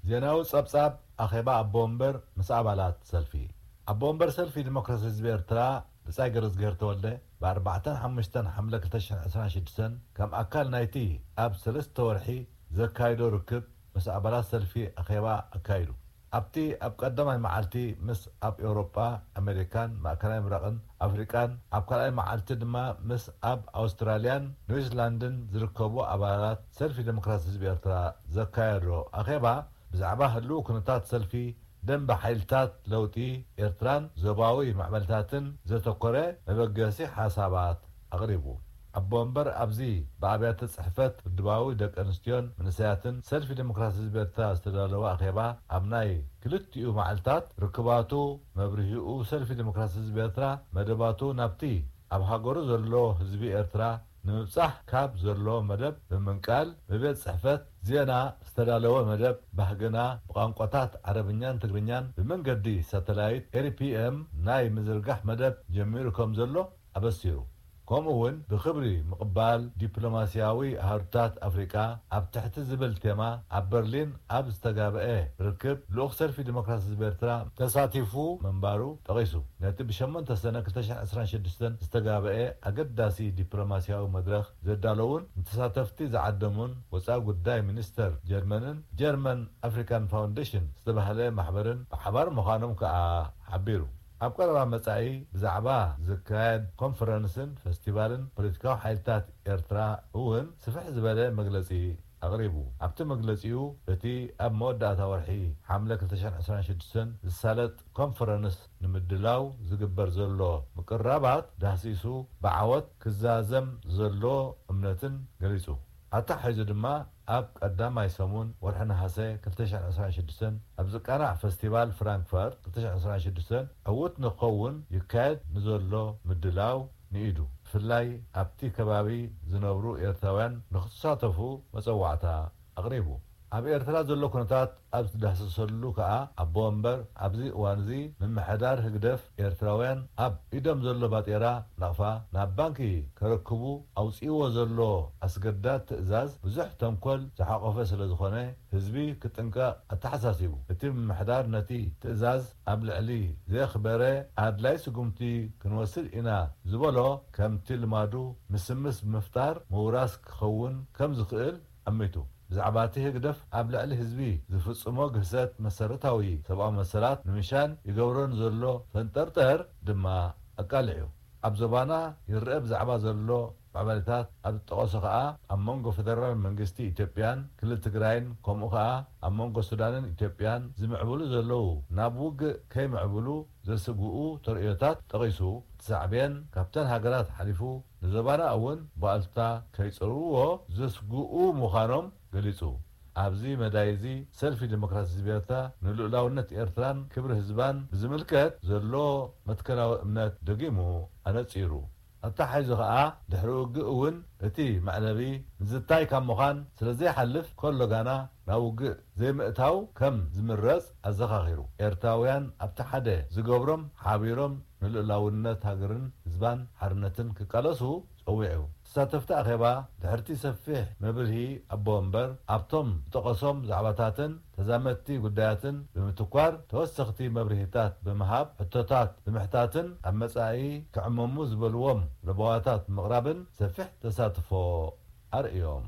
ዜናዊ ጸብጻብ ኣኼባ ኣቦ ወንበር ምስ ኣባላት ሰልፊ። ኣቦ ወንበር ሰልፊ ዲሞክራሲ ህዝቢ ኤርትራ ብጻይ ገረዝግሄር ተወልደ ብ ኣርባዕተን ሓሙሽተን ሓምለ ክልተ ሽሕን ዕስራን ሽዱሽተን ከም ኣካል ናይቲ ኣብ ሰለስተ ወርሒ ዘካይዶ ርክብ ምስ ኣባላት ሰልፊ ኣኼባ ኣካይዱ። ኣብቲ ኣብ ቀዳማይ መዓልቲ ምስ ኣብ ኤውሮጳ፣ ኣሜሪካን ማእከላይ ምብራቕን ኣፍሪቃን፣ ኣብ ካልኣይ መዓልቲ ድማ ምስ ኣብ ኣውስትራልያን ኒውዚላንድን ዝርከቡ ኣባላት ሰልፊ ዲሞክራሲ ህዝቢ ኤርትራ ዘካየዶ ኣኼባ፣ ብዛዕባ ህልው ኩነታት ሰልፊ፣ ደንበ ሓይልታት ለውጢ ኤርትራን ዞባዊ ማዕበልታትን ዘተኮረ መበገሲ ሓሳባት ኣቕሪቡ። ኣቦ ወንበር ኣብዚ ብኣብያተ ጽሕፈት ውድባዊ ደቂ ኣንስትዮን መንእሰያትን ሰልፊ ዲሞክራሲ ህዝቢ ኤርትራ ዝተዳለወ ኣኼባ፣ ኣብ ናይ ክልቲኡ መዓልታት ርክባቱ መብርሂኡ ሰልፊ ዲሞክራሲ ህዝቢ ኤርትራ መደባቱ ናብቲ ኣብ ሃገሩ ዘሎ ህዝቢ ኤርትራ ንምብጻሕ ካብ ዘሎ መደብ ብምንቃል፣ ብቤት ጽሕፈት ዜና ዝተዳለወ መደብ ባህግና ብቋንቋታት ዓረብኛን ትግርኛን ብመንገዲ ሳተላይት ኤሪፒኤም ናይ ምዝርጋሕ መደብ ጀሚሩ ከም ዘሎ ኣበሲሩ። ከምኡ እውን ብኽብሪ ምቕባል ዲፕሎማስያዊ ኣሃዱታት ኣፍሪቃ ኣብ ትሕቲ ዝብል ቴማ ኣብ በርሊን ኣብ ዝተጋብአ ርክብ ልኡኽ ሰልፊ ዲሞክራሲ ህዝቢ ኤርትራ ተሳቲፉ ምንባሩ ጠቒሱ። ነቲ ብሸሞንተ ሰነ ክልተ ሽሕን ዕስራን ሽዱሽተን ዝተጋብአ ኣገዳሲ ዲፕሎማስያዊ መድረኽ ዘዳለዉን ንተሳተፍቲ ዝዓደሙን ወጻኢ ጉዳይ ሚኒስተር ጀርመንን ጀርመን ኣፍሪካን ፋውንዴሽን ዝተባህለ ማሕበርን ብሓባር ምዃኖም ከኣ ሓቢሩ። ኣብ ቀረባ መጻኢ ብዛዕባ ዝካየድ ኮንፈረንስን ፈስቲቫልን ፖለቲካዊ ሓይልታት ኤርትራ እውን ስፍሕ ዝበለ መግለጺ ኣቕሪቡ። ኣብቲ መግለጺኡ፣ እቲ ኣብ መወዳእታ ወርሒ ሓምለ ክልተ ሽሕን ዕስራን ሽዱሽተን ዝሳለጥ ኮንፈረንስ ንምድላው ዝግበር ዘሎ ምቅርራባት ዳህሲሱ ብዓወት ክዛዘም ዘሎ እምነትን ገሊጹ። ኣተሓሒዙ ድማ፣ ኣብ ቀዳማይ ሰሙን ወርሒ ነሓሰ ክልተ ሽሕን ዕስራን ሽዱሽተን ኣብ ዝቃናዕ ፈስቲቫል ፍራንክፈርት ክልተ ሽሕን ዕስራን ሽዱሽተን ዕዉት ንክኸውን ይካየድ ንዘሎ ምድላው ንኢዱ፣ ብፍላይ ኣብቲ ከባቢ ዝነብሩ ኤርትራውያን ንክትሳተፉ መጸዋዕታ ኣቕሪቡ። ኣብ ኤርትራ ዘሎ ኩነታት ኣብ ዝዳህሰሰሉ ከኣ፣ ኣቦ ወንበር ኣብዚ እዋንዚ ምምሕዳር ህግደፍ ኤርትራውያን ኣብ ኢዶም ዘሎ ባጤራ ናቕፋ ናብ ባንኪ ከረክቡ ኣውጺእዎ ዘሎ ኣስገዳድ ትእዛዝ ብዙሕ ተንኮል ዝሓቖፈ ስለ ዝኾነ፣ ህዝቢ ክጥንቀቕ ኣተሓሳሲቡ። እቲ ምምሕዳር ነቲ ትእዛዝ ኣብ ልዕሊ ዘየኽበረ ኣድላይ ስጉምቲ ክንወስድ ኢና ዝበሎ ከምቲ ልማዱ ምስምስ ብምፍጣር ምውራስ ክኸውን ከም ዝኽእል ኣሚቱ። ብዛዕባ እቲ ህግደፍ ኣብ ልዕሊ ህዝቢ ዝፍጽሞ ግህሰት መሰረታዊ ሰብኣዊ መሰላት ንምሻን ይገብሮ ንዘሎ ፈንጠርጠር ድማ ኣቃሊዑ። ኣብ ዞባና ይረአ ብዛዕባ ዘሎ ማዕበልታት ኣብ ዝጠቐሶ ከኣ፣ ኣብ መንጎ ፈደራል መንግስቲ ኢትዮጵያን ክልል ትግራይን፣ ከምኡ ከኣ ኣብ መንጎ ሱዳንን ኢትዮጵያን ዝምዕብሉ ዘለዉ ናብ ውግእ ከይምዕብሉ ዘስግኡ ተርእዮታት ጠቒሱ፣ እቲ ሳዕቤን ካብተን ሃገራት ሓሊፉ ንዞባና እውን ብኣሉታ ከይጸርዎ ዘስግኡ ምዃኖም ገሊጹ። ኣብዚ መዳይ እዚ፣ ሰልፊ ዲሞክራሲ ህዝቢ ኤርትራ ንልኡላውነት ኤርትራን ክብሪ ህዝባን ብዝምልከት ዘሎ መትከላዊ እምነት ደጊሙ ኣነጺሩ። ኣተሓሒዙ ከኣ፣ ድሕሪ ውግእ እውን እቲ መዕለቢ ንዝታይ ካብ ምዃን ስለ ዘይሓልፍ፣ ከሎ ጋና ናብ ውግእ ዘይምእታው ከም ዝምረጽ ኣዘኻኺሩ። ኤርትራውያን ኣብቲ ሓደ ዝገብሮም ሓቢሮም ንልኡላውነት ሃገርን ህዝባን ሓርነትን ክቃለሱ ጸዊዑ። ተሳተፍቲ ኣኼባ ድሕርቲ ሰፊሕ መብርሂ ኣቦ ወንበር፣ ኣብቶም ዝጠቐሶም ዛዕባታትን ተዛመድቲ ጉዳያትን ብምትኳር ተወሰኽቲ መብርሂታት ብምሃብ፣ ሕቶታት ብምሕታትን ኣብ መጻኢ ክዕመሙ ዝበልዎም ለበዋታት ብምቕራብን ሰፊሕ ተሳትፎ ኣርእዮም።